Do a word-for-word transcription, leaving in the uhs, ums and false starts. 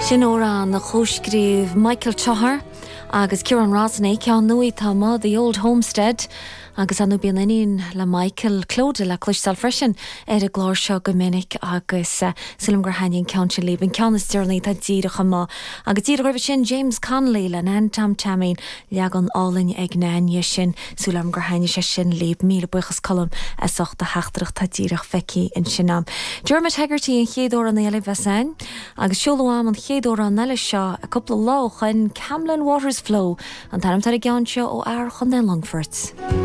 Sin amhrán a chomhscríobh Michael Toher agus Ciarán Rosney ceann nua atá amuigh The Old Homestead agus anu bíonn iníon le Michael Clodagh le cloisteáil freisin ar an gclár seo go minic agus uh, sílim gur thaitin an ceann sin libh an ceann is deireanaí atá díreach amuigh. Agus díreach roimhe sin James Connolly le Nan Tom Taimín leagan álainn ag Naine sin sílim gur thaitin sé sin libh míle buíochas Colm as ucht do theachtaireacht atá díreach feicthe ansin agam. Dermot Hegarty an chéad amhrán eile bhesan, agus seoladh agam an chéad amhrán eile seo a cúpla lá ó shin Camlin Waters Flow an t-ainm ar an gceann seo ó fhear Chontae Longfoirt.